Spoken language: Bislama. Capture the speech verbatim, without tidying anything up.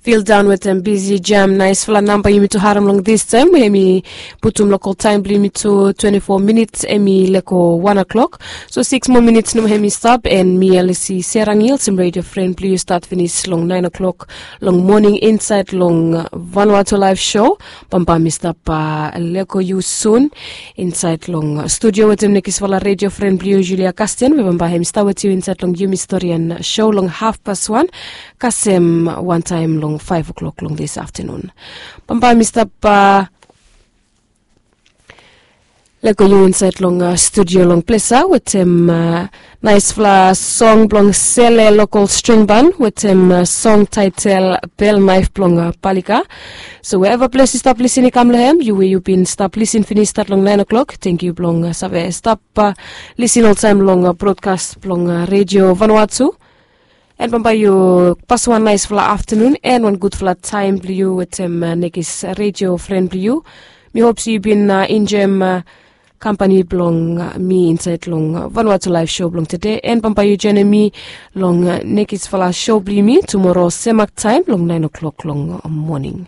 Fildaon wetem bisi jam naisfala namba yumi tu harem long distaem we hem i putum lokol taem blong yumi tu twenti fo minits hem i leko wan o'klok. So siks moa minits nomo hem i stap, and mi elisi serangil sem redio fren blong yu stat finis long naen o'klok long moning insaed long vanua tu laef sho. Bambae mi stap leko yu sun insaed long studio wetem nekisfala redio fren blong yu, julia kasten, we bambae hem i stap wetem yu insaed long yumi storian sho long hafpas wan kasem wantaem long faef o'klok long dis aftanun. Bambae mi stap leko yu insaed long studio long plesa wetem naisfala song blong sele lokol strengban wetem song taetel bel naef blong palika. So we eva ples yu stap lisin i kam long hem, yu we yu bin stap lisin finis stat long naen o'klok, tengkiu blong save stap lisin oltaem long brodkas blong redio vanua tu. And bambae yu pasim wan naisfala aftanun and wan gudfala taem blong yu wetem nekis redio fren blong yu. Mi hop se yu bin enjoem kampani blong mi insaed long vanua tu laef sho blong tede, and bambae yu joenem mi long nekisfala sho blong yumi tumoro semak taem long naen o'klok long moning.